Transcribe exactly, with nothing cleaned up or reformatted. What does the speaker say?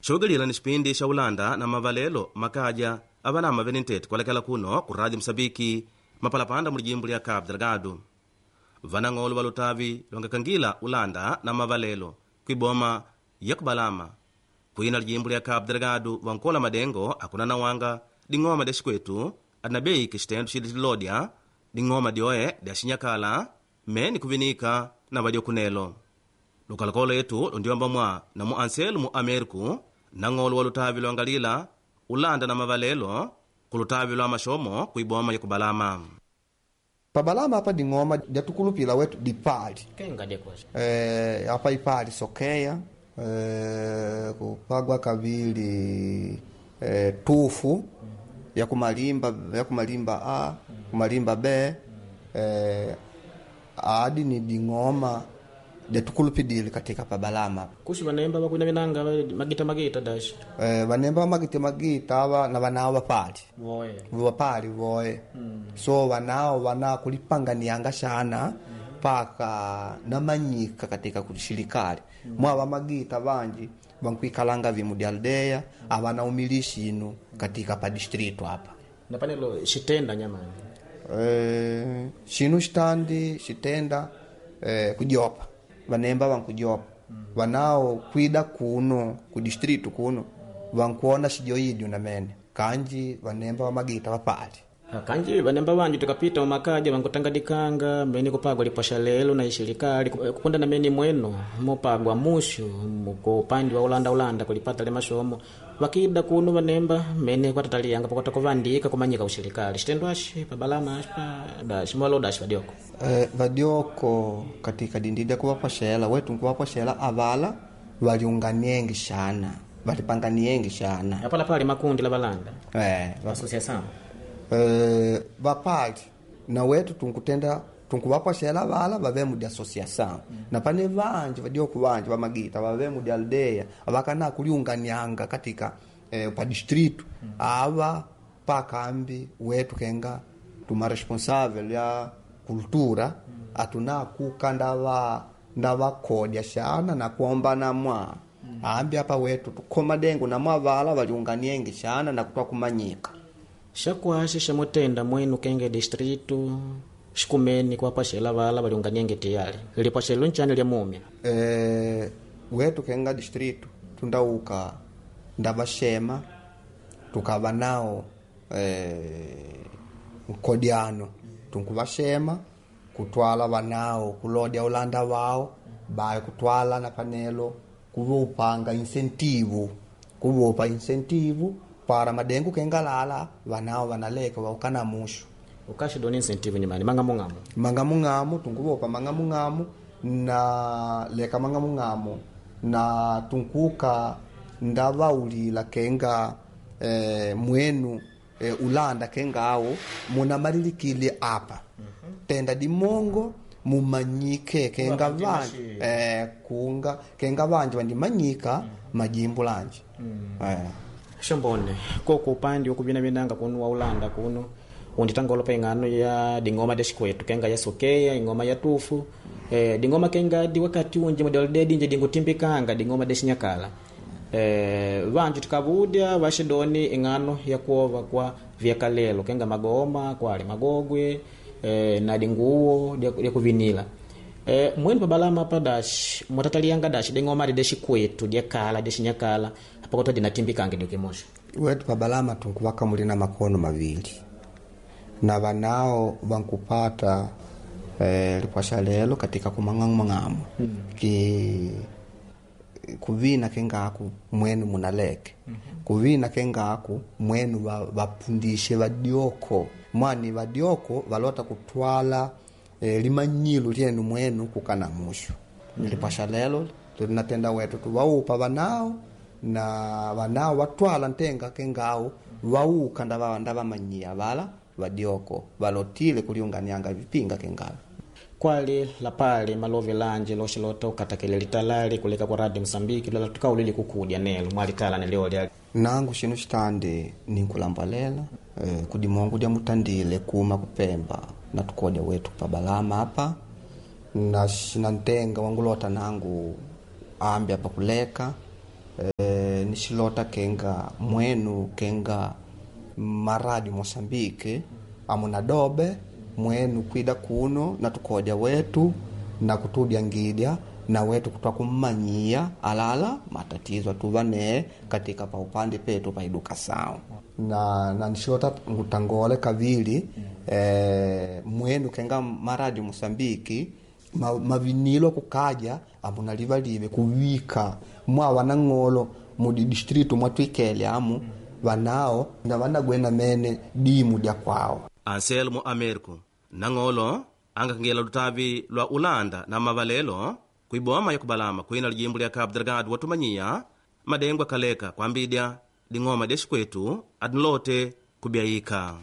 Shogilila ni xipindi xa ulanda na mavalelo makaja avanama vene ntete kualekela kuno ku Rádio Moçambique mapalapanda mu lijimbo lya Cabo Delgado. Vanang'olo va lutavi lwangakangila ulanda na mavalelo kwiboma ya kubalama kwina lijimbo lya Cabo Delgado vankola madengo akuna nawanga ding'oma dya xikwetu adina bei kixitendo xili xilodya ding'oma dyoe dya xinyakala meni kuvinika na vadyokunelo. Lukalakolo yetu lundiwamba mwa na mu anselo mu Ameriku nang'olo wa lutavi lwangalila ulanda na mavalelo kulutavi lwa maxomo kuiboma ya kubalama. Pabalama apa ding'oma dyatukulupila wetu dipali kenga dyekwasha e, apa ipali sokeya e, kupagwa kavili e, tufu ya kumalimba ya kumalimba a kumalimba b e, adi ni ding'oma dyatukulupidile katika pabalama kusi vanemba vakwina vinanga va- magita magita dashi e, vanemba magita magita ava na vanao vapali voye vapali voye mm. So vanao vana kulipanganianga shana paka namanyika katika kushirikali mm. Mwava magita vanji vankuikalanga vimu dya aldeya avana umilishi inu katika pa distrito apa na panelo xitenda nyamani e, xinu xitandi xitenda e, kujopa vanemba vankujopa mm. Vanao kwida kuno ku distrito kuno vankuona xijoidyu namene kanji vanemba vamagita vapali Ah, kanji vanemba vanji tukapita mumakaja vankutangadikanga mene kupagwa lipwasha lelo na ishilikali kupunda na mene mweno mupagwa mushu ku upandi wa ulanda ulanda kulipata le mashomo vakida kuno vanemba mene kwatataliyanga pakwata kuvandika kumanyika ushilikali xitendo axi pabalama axi pa daxi mwalo daxi vadioko Eh, vadioko katika dindida kuvapoxela wetu nkuvapoxela avala valiunganiengi xana valipanganiengi xana apala pali makundi la valanda eh, va- associação eh, vapali na wetu tunkutenda tunkuvapoxela vala vave mu di associação na pane vanji vadioko vanji vamagita vave mu di aldeia vakana kuliunganianga katika eh, pa distrito ava pakambi wetu kenga tuma responsável ya cultura atuna kuka ndava ndavakodya xana na kuombana mwa ambi apa wetu tukhoma dengu na mwavala valiunganiengi xana na kutwa kumanyika xakuaxi xamutenda mwenu kenge distrito xikumeni kuvapaxela vala valiunganienge tiyali lipwaxelo ncani lya mumya e, wetu kenga distrito tundauka ndavaxema tukava nao e, nkodiano tunkuvaxema kutwala vanao kulodya ulanda wao baye kutwala na panelo kuvupanga incentivo kuvupa incentivo para madengu kengalala vanao vanaleka vaukana mushu ukaxi doni incentivo nyimani mang'amung'amu mangamung'amu tunkuvopa mangamung'amu na leka mangamung'amu na tunkuka ndavaulila kenga eh, mwenu eh, ulanda kengawo munamalilikile apa tenda dimongo mumanyike kenga vanji eh, kunga kenga vanji vandimanyika majimbo lanji eh. xombone koko upandi wakuvinavinanga kuno wa ulanda kuno unditanga olopa ing'ano ya ding'oma dya xikwetu kenga ya sokeya ing'oma ya tufu eh, ding'oma kenga di wakati unji mudaludedi nje dingutimbikanga ding'oma dya xinyakala eh, vanju tikavudya vaxidoni ing'ano ya kuova kwa vyakalelo kenga magoma kwali magogwe eh, na dinguwo dya dya kuvinila Eh, mwenu pabalama pa daxi mwatatalianga daxi ding'oma adi dya xikwetu dyakala dya xinyakala apakota dinatimbikange dikimoxo wetu pabalama tunkuvaka muli na makono mavili na vanao vankupata eh, lipwasha lelo katika kumang'amung'amu mm. ki kuvina kengaku mwenu munaleke mm-hmm. kuvina kengaku mwenu va- vapundishe vadioko mwani vadioko valota kutwala eh, limanyilo lyenu mwenu kukana mushu mm-hmm. lipwasha lelo linatenda wetu tuvaupa vanao na vanao vatwala ntenga kengawo vauka ndava ndavamanyia vala vadioko valotile kuliunganianga vipinga kengavo kwali lapali malovi lanje loxilota ukatakele litalali kuleka kwa radio Msambiki lala tukaulili kukudya nelo mwalitala neliolya nangu xinu xitandi ninkulambalela eh, kudimongo dya mutandile kuma kupemba na tukodya wetu pabalama apa na xinantenga wangulota nangu ambi apa kuleka e, nixilota kenga mwenu kenga maradi Moçambique amuna dobe mwenu kwida kuno na tukodya wetu na kutudyangidya na wetu kutwa kummanyia alala matatizo atuva nee katika pa upande petu pa edukação na, na nixilota ngutangole kavili mm. eh, mwenu kenga maradi Moçambique ma, mavinilo kukaja amuna livalive kuwika mwa wanang'olo mudi distrito mwatwikele amu mm. vanao na vanagwena mene dimu dya kwao Anselmo Americo nang'olo angakangela lutavi lwa Ulanda na mavalelo kuiboma ya kubalama kwina lijimbo lya Cabo Delgado watumanyiya madengo akaleka kwambidya ding'oma dya xikwetu adinlote kubyayika.